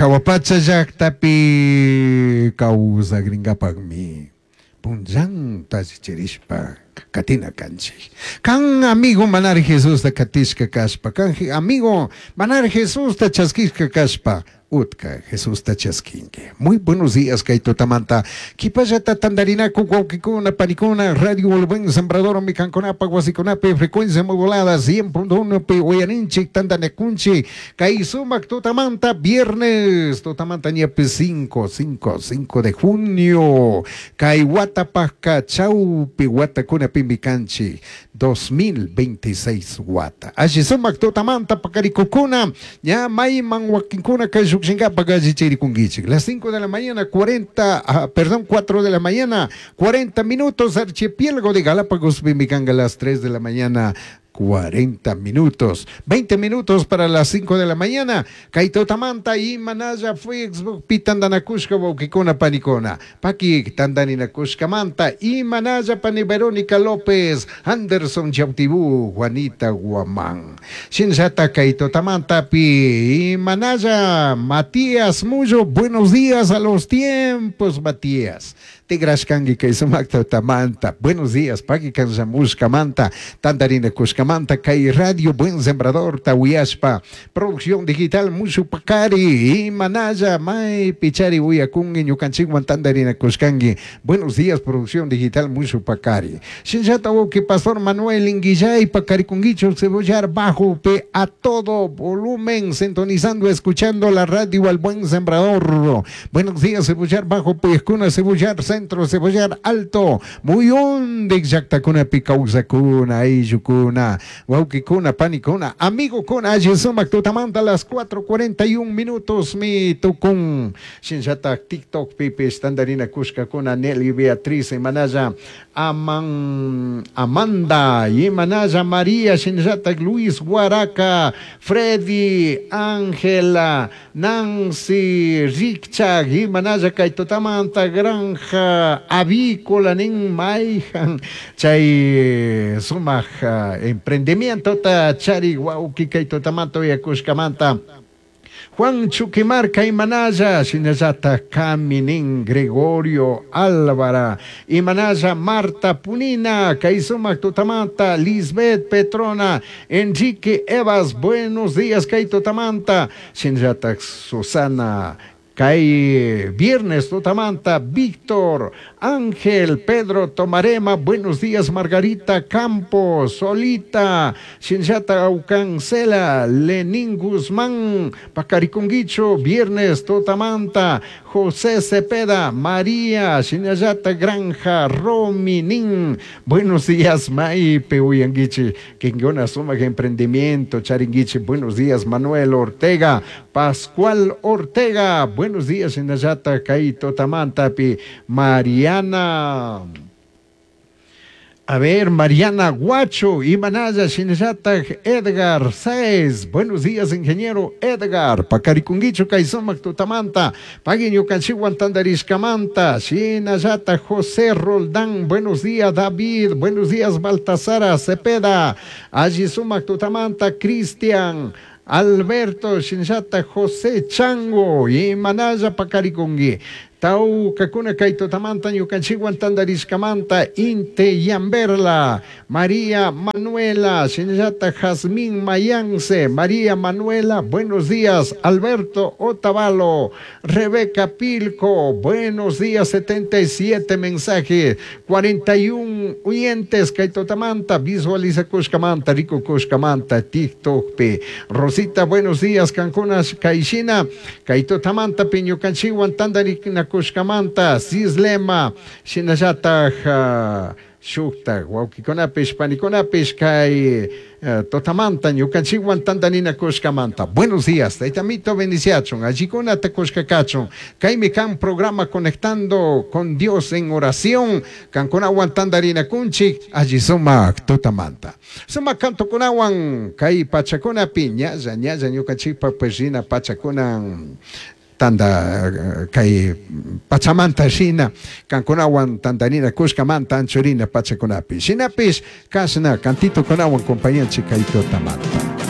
Jahua pacha llajtapi causagringapajmi punllanta allichirishpa catina canchij. Can amigo manaraj Jesusta catishca cashpa, can amigo manaraj Jesusta chasquishca cashpa, utca Jesusta chasquingui. Muy buenos días kay tutamanta. Qhipallata tantarinaku wawqikuna, panikuna, Radio El Buen Sembradormi kankunapaj wasikunapi frecuencia modulada 100.1 pi uyarinchik tantanakunchik kay sumak tutamanta viernes tutamanta ñapi 5, 5, 5 de junio kay watapajka chawpi watakunapimi kanchik 2026 wata. Alli sumak tutamanta pakarikukuna ña mayman wakinkuna kay llukshinkapak allichirikunkichik. Las 5 de la mañana 40, ah, perdón, 4 de la mañana 40 minutos archipiélago de Galápagos kanka las 3 de la mañana 40 minutos, 20 minutos para las 5 de la mañana. Kay tutamanta imanalla Facebook pi tandanakushka wawkikuna panikuna. Paki tandaninakushkamanta imanalla pani Verónica López, Anderson Chautibú, Juanita Guamán. Shinallata kay tutamanta pi imanalla Matías Mullo, buenos días a los tiempos, Matías. Tigrashkanki kay sumak tutamanta. Buenos días, paki kanllamushkamanta, tandarinakushkamanta, kay Radio Buen Sembrador tawiyashpa, producción digital mushu pakari, imanalla may pichari uyakungi ñukanchikwan tandarinakushkanki. Buenos días, producción digital mushu pakari. Shinllata wawqi Pastor Manuel Inguillay pakarikunkichu Cebollar Bajo pe a todo volumen, sintonizando, escuchando la radio al Buen Sembrador. Buenos días, Cebollar Bajo, Puyescuna, Cebollar Centro, Cebollar Alto, muyundik llaktakunapi kawsakuna, ayllukuna, wawqikuna, panikuna, amigokuna, alli sumak tutamanta las 4:41 minutos mi tukun. Shinllatak TikTok pipis tandarinakushkakuna Nelly Beatriz imanalla Aman, Amanda imanalla María shinllatak Luis Guaraca, Freddy, Ángela, Nancy, Richard imanalla kay tutamanta granja avícola nin mayjan chay sumak emprendimientota chari wawqi kay tutamanta uyakushkamanta. Juan Chuquimarca imanalla, shinallata Caminin Gregorio Álvara, imanalla Marta Punina, kay sumak tutamanta, Lisbeth Petrona, Enrique Evas, buenos días kay tutamanta, shinallata Susana, kay viernes tutamanta, Víctor, Ángel, Pedro Tomarema, buenos días Margarita Campos, Solita, Shinllata Aucancela, Lenín Guzmán, Pacariconguicho, viernes tutamanta, José Cepeda, María, Shinallata Granja, Rominin, buenos días Maipe Uyanguichi, Kingona Suma Emprendimiento, Charinguichi, buenos días Manuel Ortega, Pascual Ortega, buenos días Shinallata Kaito Tamantapi, Mariana. A ver, Mariana Guacho, Imanaya, Shinallata, Edgar Sáez. Buenos días, ingeniero Edgar. Pacarikunguicho, Kaisomac, Tutamanta. Paguiño, Canchihuan, Tandarishkamanta. Shinallata, José Roldán. Buenos días, David. Buenos días, Baltasara Cepeda. Alli Sumac, Tutamanta, Cristian. Alberto Shinllata José Chango Imanaya Pacaricungui Taucacuna Kaitotamanta ñukanchikwan tandarishkamanta Inte Yamberla María Manuela Shinllata Jazmín Mayance María Manuela, buenos días. Alberto Otavalo, Rebeca Pilco, buenos días. 77 mensajes, 41 oyentes Kaitotamanta, visualiza Kushkamanta, Rico Kushkamanta, TikTok P. Rosita, buenos días. Cancuna Kaishina, Kaitotamanta, Piñukanchiwan tandarina Kushkamanta, Sislema, Shinallata, Shukta, wawkikunapish, panikunapish, kay totamanta, ñukanchikwan tandanina kushkamanta. Buenos días, taytamito bendiciachun, allikunata kushkakachun. Kaymi kan programa Conectando con Dios en Oración, kankunawan tandarina kunchik, alli sumak totamanta. Sumak kantukunawan, kay pachakunapi, ñalla, ñalla ñukanchikpa pues rina pachakunan, tanda kay pachamanta shina kankunawan tandanina kushkamanta anchurina pachakunapi. Shinapish kashna kantito kunawan compañanchik kay totamanta.